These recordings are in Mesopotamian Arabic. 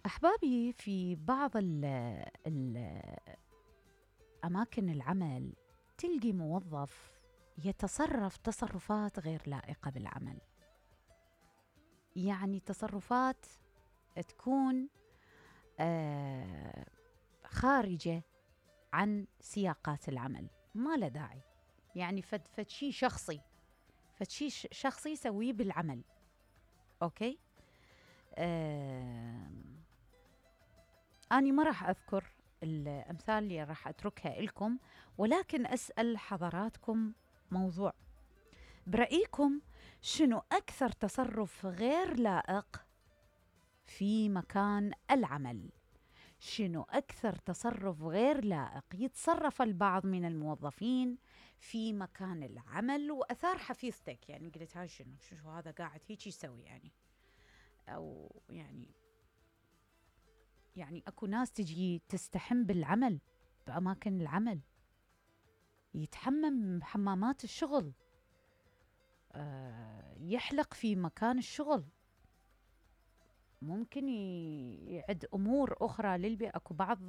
أحبابي، في بعض أماكن العمل تلقي موظف يتصرف تصرفات غير لائقة بالعمل، يعني تصرفات تكون خارجة عن سياقات العمل، ما له داعي، يعني فد شي شخصي يسويه بالعمل. أوكي، أنا ما راح أذكر الأمثال اللي راح أتركها لكم، ولكن أسأل حضراتكم موضوع، برأيكم شنو أكثر تصرف غير لائق في مكان العمل؟ شنو أكثر تصرف غير لائق يتصرف البعض من الموظفين في مكان العمل وأثار حفيظتك؟ يعني قلت هاي شنو هذا قاعد هيك يسوي، أو يعني أكو ناس تجي تستحم بالعمل، بأماكن العمل يتحمم بحمامات الشغل، يحلق في مكان الشغل، ممكن يعد أمور أخرى للبيئة. أكو بعض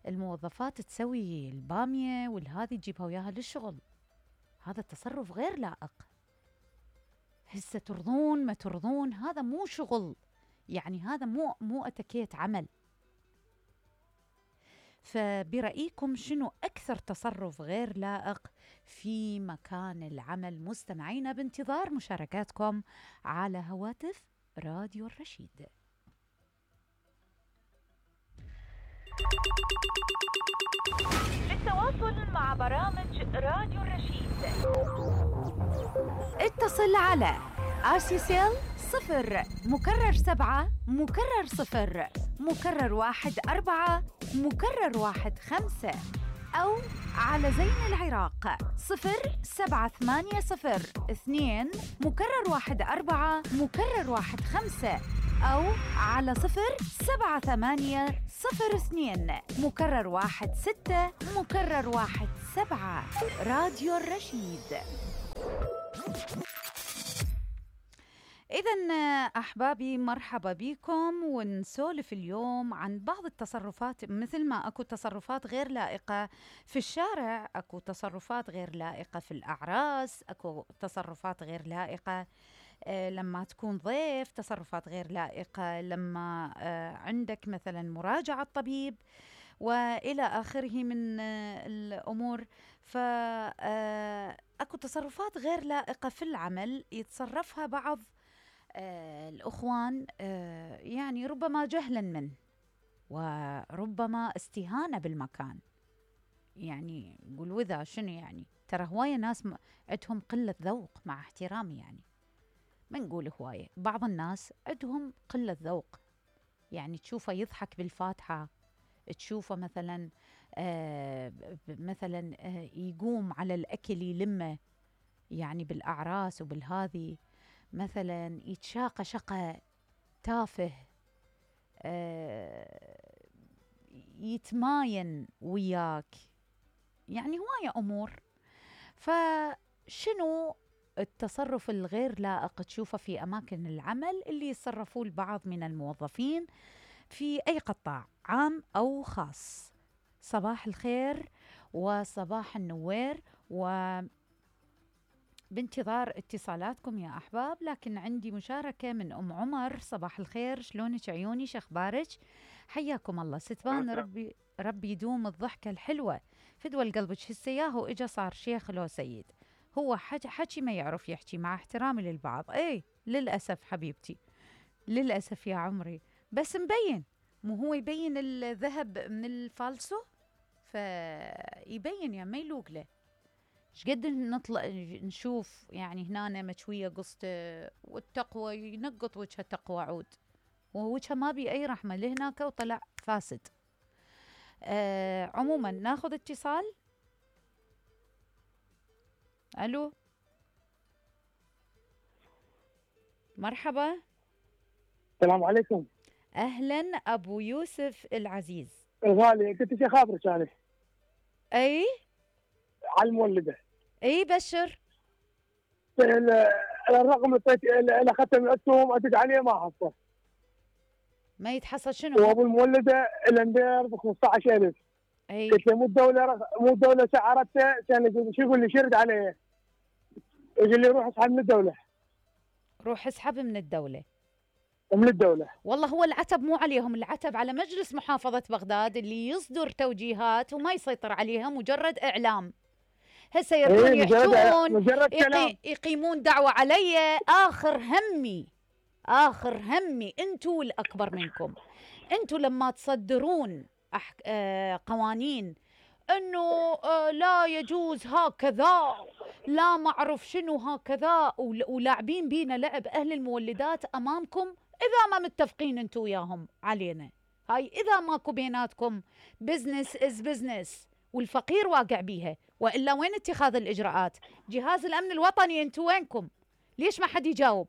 الموظفات تسوي البامية والهذي تجيبها وياها للشغل، هذا تصرف غير لائق. هسه ترضون ما ترضون، هذا مو شغل، يعني هذا مو أتكيت عمل. فبرأيكم شنو أكثر تصرف غير لائق في مكان العمل؟ مستمعينا بانتظار مشاركاتكم على هواتف راديو الرشيد. للتواصل مع برامج راديو الرشيد اتصل على RCCL 0*7*0*1*4*15 أو على زين العراق 07802*14*15 أو على 07802*16*17. راديو الرشيد. إذن أحبابي، مرحبا بكم، ونسولف اليوم عن بعض التصرفات. مثل ما أكو تصرفات غير لائقة في الشارع، أكو تصرفات غير لائقة في الأعراس، أكو تصرفات غير لائقة لما تكون ضيف، تصرفات غير لائقة لما عندك مثلا مراجعة طبيب وإلى آخره من الأمور. فأكو تصرفات غير لائقة في العمل يتصرفها بعض الأخوان، يعني ربما جهلا منه وربما استهانة بالمكان. يعني قول وذا شنو، يعني ترى هواية ناس عندهم قلة ذوق، مع احترامي، يعني ما نقول هواية، بعض الناس عندهم قلة ذوق. يعني تشوفه يضحك بالفاتحة، تشوفه مثلا يقوم على الأكل يلمه، يعني بالأعراس وبالهذي، مثلا يتشاقى شقة تافه، يتماين وياك، يعني هواية أمور. فشنو التصرف الغير لائق تشوفه في أماكن العمل اللي يتصرفوه البعض من الموظفين في أي قطاع عام أو خاص؟ صباح الخير وصباح النوير، بانتظار اتصالاتكم يا أحباب. لكن عندي مشاركة من أم عمر. صباح الخير، شلونك عيوني، شخبارك؟ حياكم الله ستبان، ربي يدوم الضحكة الحلوة فدوى القلبك. هسياه إجا صار شيخ لو سيد، هو حكي ما يعرف يحكي، مع احترامي للبعض. للأسف حبيبتي، للأسف يا عمري، بس مبين، مو هو يبين الذهب من الفالسو، فيبين يعني ما يلوق له. شقد نطلع نشوف يعني هنا مشوية قسط والتقوى ينقط وجهها تقوى عود، ووجهها ما بي أي رحمة لهناك وطلع فاسد. عموما ناخذ اتصال. ألو، مرحبا. السلام عليكم. أهلا أبو يوسف العزيز. الغالي، كنت شي خابرك أنا. أي على المولدة. أي بشر. الرقم اللي أخذته من عندكم أدق عليه ما حصل. ما يتحصل شنو؟ وابو المولده الندير ب 15,000. اي قلت له مو الدوله سعرته، كان يقول شو، يقول لي شرد عليه، يقول لي روح اسحب من الدوله. روح اسحب من الدولة. من الدوله. والله هو العتب مو عليهم، العتب على مجلس محافظة بغداد اللي يصدر توجيهات وما يسيطر عليها، مجرد إعلام. هسه يردون يحجون مجرد كلام. يقيمون دعوة علي. آخر همي أنتوا الأكبر منكم. أنتوا لما تصدرون قوانين أنه لا يجوز هكذا، لا معرف شنو هكذا، ولاعبين بينا لعب أهل المولدات أمامكم، إذا ما متفقين أنتوا وياهم علينا، هاي إذا ماكو بيناتكم بزنس إز بزنس والفقير واقع بيها، وإلا وين اتخاذ الإجراءات؟ جهاز الأمن الوطني أنتوا وينكم؟ ليش ما حد يجاوب؟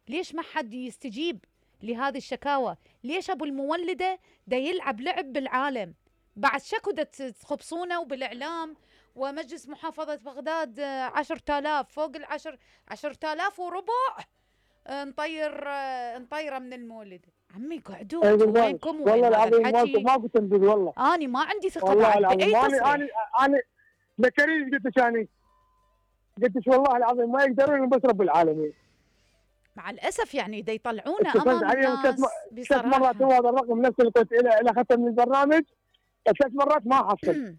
ليش ما حد يستجيب لهذه الشكاوى؟ ليش أبو المولدة دا يلعب لعب بالعالم؟ بعد شكو دا تخبصونه وبالإعلام ومجلس محافظة بغداد 10,000 فوق 10,000 وربع نطيره من المولد. عمي قعدوا انتوا وينكم؟ والله العظيم ماكو تنبيه. والله أنا ما عندي ثقة بعد بأي تصريح. أنا لكريم قلت والله العظيم ما يقدرون بس رب العالمين. مع الأسف يعني دا يطلعونه أمام الناس بصراحة. 3 مرات هو هذا الرقم نفس اللي كنت إلى ختم من البرنامج 3 مرات ما حصل.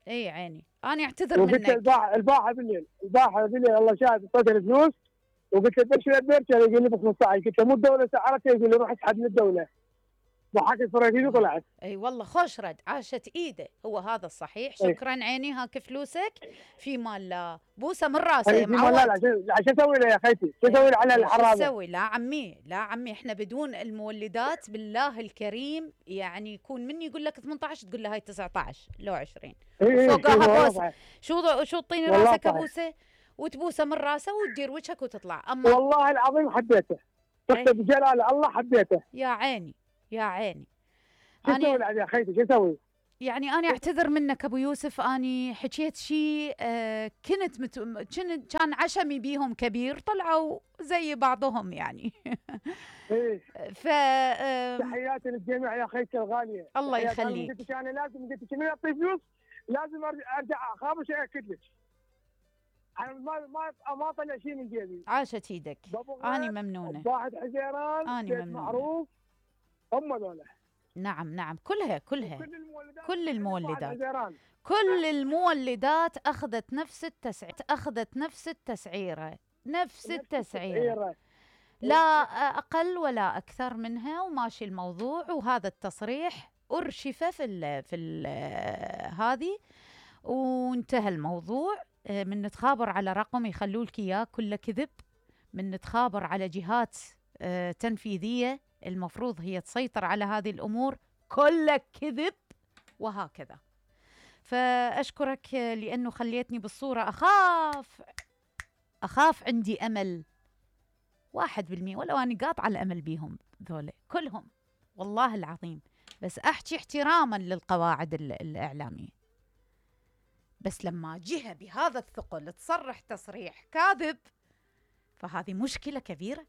اي عيني انا اعتذر منك. الباحة بالليل الله شاهد اعطيته الفلوس، وقلت له بشوي برشا، يقول لي ب 15. قلت له مو الدوله سعرته، يقول لي روح اسحب من الدوله. ضحكت فريدي وطلعت. اي والله خوش رد، عاشت ايده، هو هذا الصحيح. شكرا عيني، هاك فلوسك في مال لا بوسه من راسه يا معود. لا عشان اسوي له يا خيتي؟ شو اسوي له على الحرامه؟ اسوي؟ لا عمي احنا بدون المولدات بالله الكريم يعني يكون مني يقول لك 18 تقول له هاي 19 لو 20 فوقها بوسه. شو تطيني راسك ابوسه وتبوسه من راسه وتدير وجهك وتطلع. اما والله العظيم حبيته، قسم بجلال الله حبيته. يا عيني شو اسوي يا خيتي؟ شو اسوي؟ يعني أنا أعتذر منك أبو يوسف، أني حكيت شيء كان عشمي بيهم كبير، طلعوا زي بعضهم يعني. إيه. تحياتي للجميع يا خيتي الغالية. الله يخليك. قلت أنا لازم، قلت شنو يعطي فلوس لازم أرجع أخابش أأكد لك. أنا ما طلع شيء من جيبي. عاشت إيدك، أنا ممنونة. واحد حزيران، أنا ممنونة. معروف هم ذولا. نعم كلها كل المولدات أخذت نفس التسعيرة، نفس التسعيرة، لا أقل ولا أكثر منها، وماشي الموضوع. وهذا التصريح أرشف في هذه وانتهى الموضوع. من نتخابر على رقم يخلوا لك إياه كله كذب، من نتخابر على جهات تنفيذية المفروض هي تسيطر على هذه الأمور، كلك كذب، وهكذا. فأشكرك لأنه خليتني بالصورة. أخاف عندي أمل 1%، ولو أنا قاطعة الأمل بيهم ذولا كلهم والله العظيم، بس أحكي احتراما للقواعد الإعلامية. بس لما جهة بهذا الثقل تصرح تصريح كاذب، فهذه مشكلة كبيرة،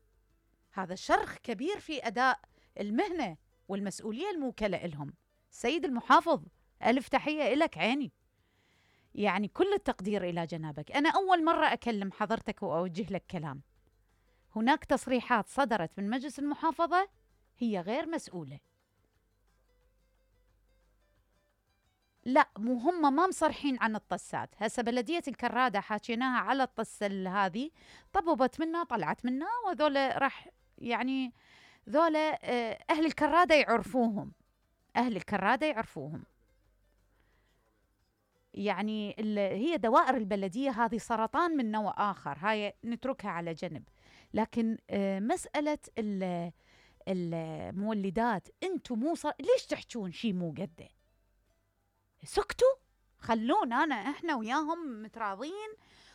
هذا شرخ كبير في أداء المهنة والمسؤولية الموكلة لهم. سيد المحافظ، ألف تحية إلك عيني، يعني كل التقدير إلى جنابك. أنا أول مرة أكلم حضرتك وأوجه لك كلام. هناك تصريحات صدرت من مجلس المحافظة هي غير مسؤولة. لا، مو هم ما مصرحين عن الطسات. هسه بلدية الكرادة حاكيناها على الطسة هذه، طببت منا طلعت منا، وذولا راح يعني ذولا أهل الكرادة يعرفوهم. يعني هي دوائر البلدية هذه سرطان من نوع آخر، هاي نتركها على جنب. لكن مسألة المولدات، انتم ليش تحجون شيء مو قده؟ سكتوا، خلونا احنا وياهم متراضين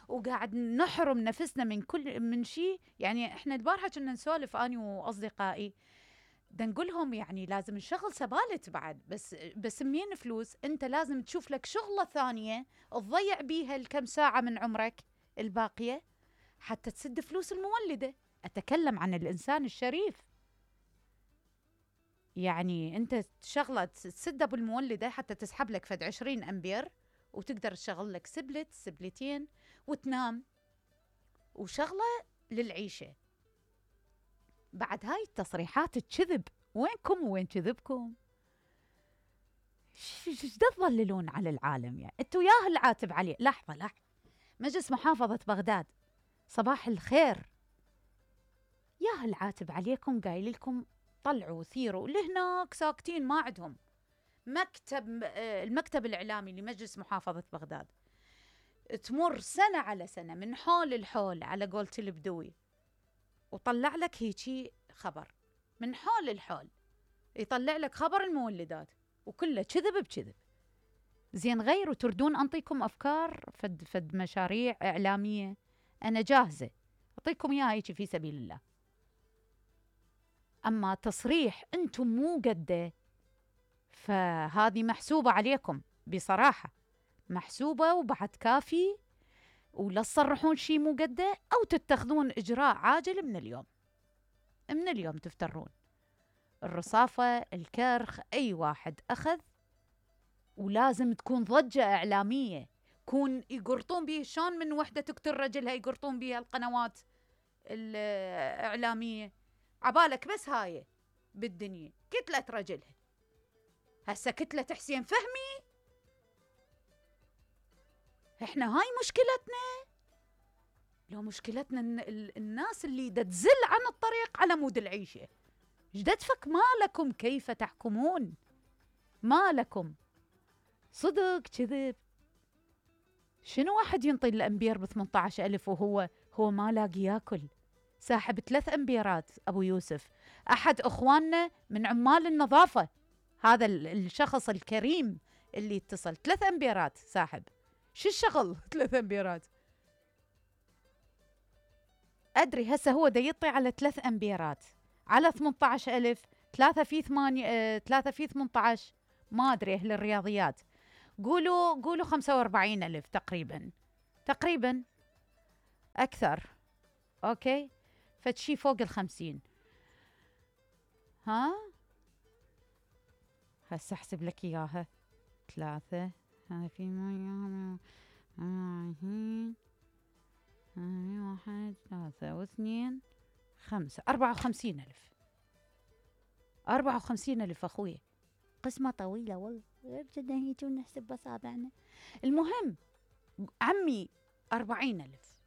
وقاعد نحرم نفسنا من شيء. يعني احنا البارحة كنا نسولف اني واصدقائي، دا نقولهم يعني لازم نشغل سبالت بعد، بس منين فلوس؟ انت لازم تشوف لك شغلة ثانية تضيع بيها الكم ساعة من عمرك الباقية حتى تسد فلوس المولدة. اتكلم عن الانسان الشريف. يعني انت شغله تسده بالمولده حتى تسحب لك فد 20 امبير، وتقدر تشغل لك سبلتين وتنام، وشغله للعيشه. بعد هاي التصريحات الكذب، وينكم وين كذبكم؟ ايش تظللون على العالم؟ يعني انتوا ياه العاتب عليه. لحظه، مجلس محافظه بغداد صباح الخير، ياه العاتب عليكم، قايل لكم طلعوا ثيروا اللي هناك ساكتين ما عندهم المكتب الإعلامي لمجلس محافظة بغداد. تمر سنة على سنة من حول الحول على قولة البدوي، وطلع لك هيجي خبر من حول الحول، يطلع لك خبر المولدات وكله كذب بكذب. زين غيروا، تردون أنطيكم أفكار فد مشاريع إعلامية، أنا جاهزة أعطيكم إياها هيجي في سبيل الله. أما تصريح أنتم مو قده، فهذه محسوبة عليكم بصراحة، محسوبة وبعد كافي، ولا تصرحون شيء مو قده أو تتخذون إجراء عاجل من اليوم تفترون الرصافة الكرخ. أي واحد أخذ ولازم تكون ضجة إعلامية، كون يقرطون به. شلون من وحدة تقتل رجلها يقرطون بها القنوات الإعلامية؟ عبالك بس هاي بالدنيا كتلة رجلها، هسه كتلة حسين فهمي. احنا هاي مشكلتنا، لو مشكلتنا الناس اللي تزل عن الطريق على مود العيشة. جدتفك مالكم كيف تحكمون؟ مالكم صدق كذب؟ شنو واحد ينطي الأمبير ب18,000 وهو ما لاقي ياكل؟ ساحب 3 أمبيرات أبو يوسف، أحد أخواننا من عمال النظافة، هذا الشخص الكريم اللي اتصل 3 أمبيرات ساحب. شو الشغل 3 أمبيرات؟ أدري هسه هو دا يطي على 3 أمبيرات على 18,000، 3 في 18، ما أدري أهل الرياضيات، قولوا 45,000 تقريبا أكثر. أوكي، فتشي فوق 50. ها هسه أحسب لك إياها. 3 هاي في 1 3 و2 5 54,000. 54,000 أخوي، قسمة طويلة والله، بدنا هيك ونحسب بصابعنا. المهم عمي 40,000،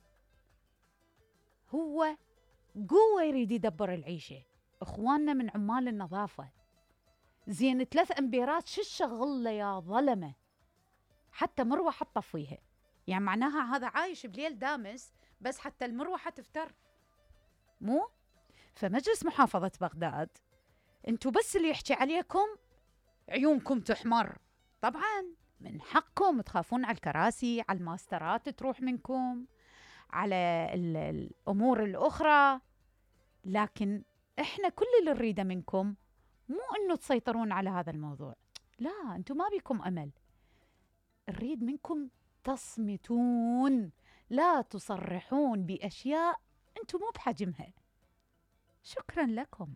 هو قوة يريد يدبر العيشة. إخواننا من عمال النظافة، زين 3 أمبيرات شو الشغل له يا ظلمة؟ حتى مروحة تطفيها، يعني معناها هذا عايش بليل دامس بس حتى المروحة تفتر، مو؟ فمجلس محافظة بغداد انتو بس اللي يحكي عليكم عيونكم تحمر. طبعا من حقكم تخافون على الكراسي، على الماسترات تروح منكم، على الأمور الأخرى، لكن إحنا كل اللي نريده منكم مو أنه تسيطرون على هذا الموضوع، لا، أنتم ما بيكم أمل، نريد منكم تصمتون، لا تصرحون بأشياء أنتم مو بحجمها. شكرا لكم.